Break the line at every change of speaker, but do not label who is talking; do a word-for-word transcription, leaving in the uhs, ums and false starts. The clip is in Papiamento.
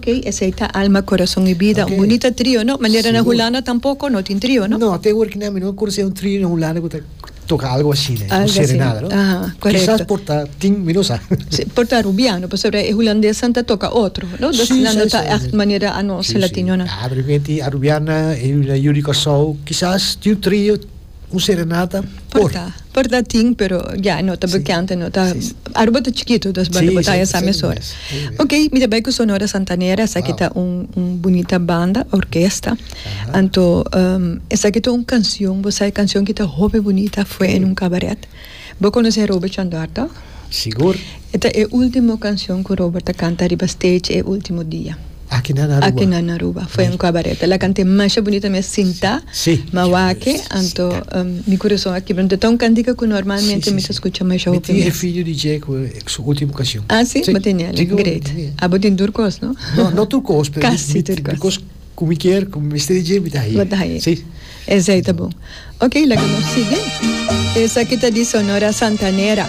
Ok, esey ta Alma, Corazon y Bida. Un
Ok.
bunita trio, no? Manera na
Sigur.
Hulanda tampoco no tin trio, no?
No, te awor cu mi no conoce un trio na Hulanda cu ta toca algo asina,
Algo
un serenata,
asina.
no?
Aha, correcto.
Kisas por ta tin, mi no sa.
Si, por ta Arubiano, pasobra e Hulandes ta toca otro, no? Dus
Si,
nan no
si,
ta
si,
echt
si.
manera anos
Si, si.
latino, no?
Ah, pero gente Arubiana, e una Yuri Corsou, kisas tin un trio, un serenata, por.
Por ta, por ta tin, pero ja, no ta
Si.
bekend, no ta.
Si, si.
Aruba ta chikito, dus
Si,
bo ta
si,
sa
si,
mesora.
si, si.
Ok, mi ta bay cu Sonora Santanera, esaki
Wow.
ta un, un bunita banda, orkesta.
Aha.
Anto, um, esaki ta un cancion, bo sa cancion cu ta hopi bunita, "Fue en un cabaret". Bo conoce Robert Chandor, toch?
Sigur.
Esta e ultimo cancion cu Robert a canta riba stage e ultimo dia.
Aki na Aruba.
Aki na Aruba, "Fue en un cabaret". El a canta mas bunita mes sinta,
Si.
m'a wak e, anto um, mi curason a kibra. Anto, un cantica cu normalmente
Si, si,
mi
si.
ta scucha mas
Mi
hopi
tin
mes.
video di dje cu su ultimo cancion.
Ah, si?
Si.
Bo tin ele.
Digo,
Great.
si.
Ah, bo tin tur cos, no?
No, no tur cos, pero
Casi
mi-
tur cos.
because cu mi kier, cu mi D J, mi ta ey.
Bo ta ey.
Si.
Esey ta bon. Ok, laga nos sigui. Esaki ta di Sonora Santanera.